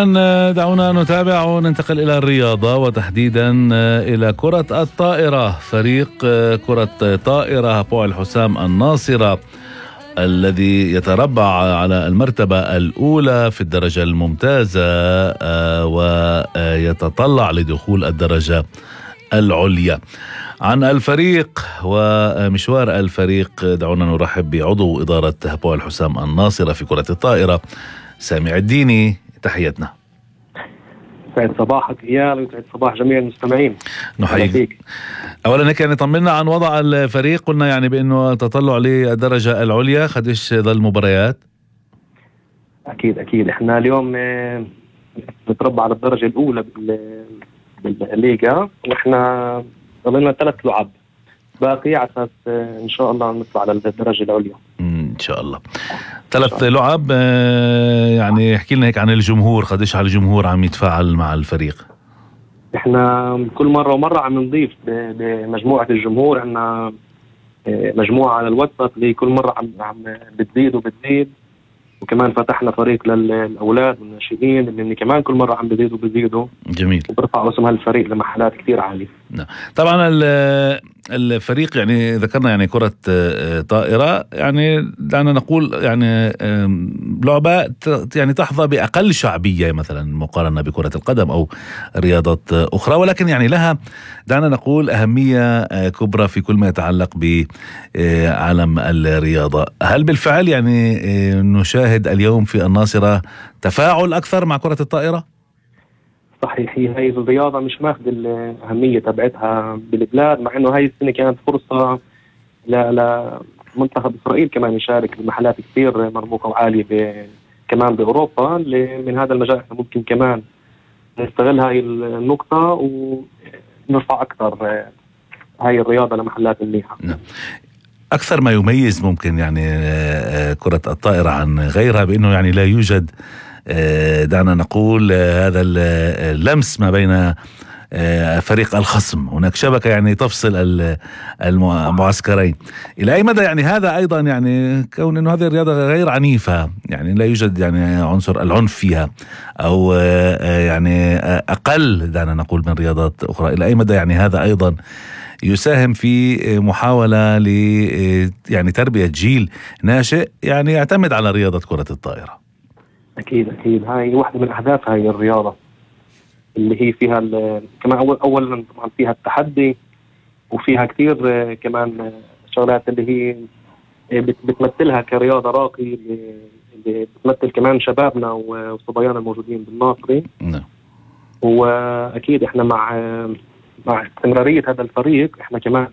الآن دعونا نتابع وننتقل إلى الرياضة وتحديدا إلى كرة الطائرة. فريق كرة طائرة هapوأل حسام الناصرة الذي يتربع على المرتبة الأولى في الدرجة الممتازة ويتطلع لدخول الدرجة العليا. عن الفريق ومشوار الفريق دعونا نرحب بعضو إدارة هapوأل حسام الناصرة في كرة الطائرة سامع الديني. تحياتنا. سعد صباحك إيال وسعد صباح جميع المستمعين. نحييك. أولا هيك يعني طمنا عن وضع الفريق. قلنا يعني بأنه تطلع للدرجة العليا، قديش ظل مباريات؟ أكيد إحنا اليوم نتربع على الدرجة الأولى بالليغا، وإحنا ضلنا 3 لعب باقي على أساس إن شاء الله نطلع على الدرجة العليا إن شاء الله. 3 لعب. يعني احكي لنا هيك عن الجمهور، قديش على الجمهور عم يتفاعل مع الفريق؟ إحنا كل مرة ومرة عم نضيف بمجموعة الجمهور. عنا مجموعة على الواتساب اللي كل مرة عم بتزيد وكمان فتحنا فريق للأولاد والناشئين اللي كمان كل مرة عم بيزيدوا. جميل. وبرفعوا اسم هالفريق لمحلات كتير عالية. نعم. طبعا الفريق يعني ذكرنا يعني كرة طائرة، يعني دعنا نقول يعني لعبة يعني تحظى بأقل شعبية مثلا مقارنة بكرة القدم أو رياضات أخرى، ولكن يعني لها دعنا نقول أهمية كبرى في كل ما يتعلق بعالم الرياضة. هل بالفعل يعني نشاهد اليوم في الناصرة تفاعل أكثر مع كرة الطائرة؟ صحيح، هي الرياضة مش ماخذ الأهمية تبعتها بالبلاد، مع إنه هاي السنة كانت فرصة لمنتخب إسرائيل كمان يشارك بمحلات كثير مرموقة وعالية كمان بأوروبا. من هذا المجال احنا ممكن كمان نستغل هاي النقطة ونرفع أكثر هاي الرياضة لمحلات منيحة. أكثر ما يميز ممكن يعني كرة الطائرة عن غيرها بأنه يعني لا يوجد دعنا نقول هذا اللمس ما بين فريق الخصم. هناك شبكة يعني تفصل المعسكرين. إلى أي مدى يعني هذا أيضا يعني كون أنه هذه الرياضة غير عنيفة، يعني لا يوجد يعني عنصر العنف فيها أو يعني أقل دعنا نقول من رياضات أخرى، إلى أي مدى يعني هذا أيضا يساهم في محاولة ل يعني تربية جيل ناشئ يعني يعتمد على رياضة كرة الطائرة؟ أكيد هاي واحدة من أهداف هاي الرياضة اللي هي فيها كمان أولا طبعا فيها التحدي، وفيها كثير كمان شغلات اللي هي بتمثلها كرياضة راقية اللي بتمثل كمان شبابنا وصبيانا الموجودين بالناصري. وأكيد إحنا مع استمرارية هذا الفريق احنا كمان